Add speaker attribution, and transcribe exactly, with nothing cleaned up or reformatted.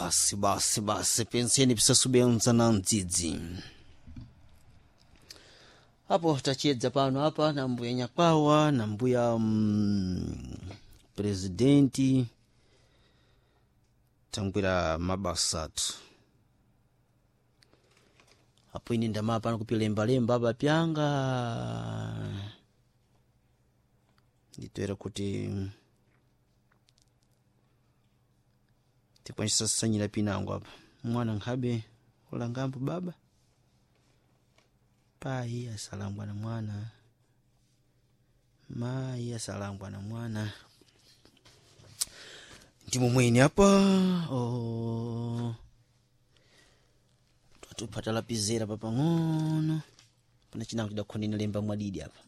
Speaker 1: Basi basi basi, penseni pisasubenza na mdzidzi. Apo tachedza pano apa na mbuya Nyakwawa na mbuya mm, presidenti tangwira mabasa athu. Apo ine ndamapa pano kupilembalemba apa pyanga nditoera kuti tikwanisa sanyira pinango apa mwana nkhabe ulangambo baba pai asalangwa na mwana mayi asalangwa na mwana ndimumweni apa oh. Twatupata lapizera papang'ono pana chinango tidakhonena lemba mwadidi apa.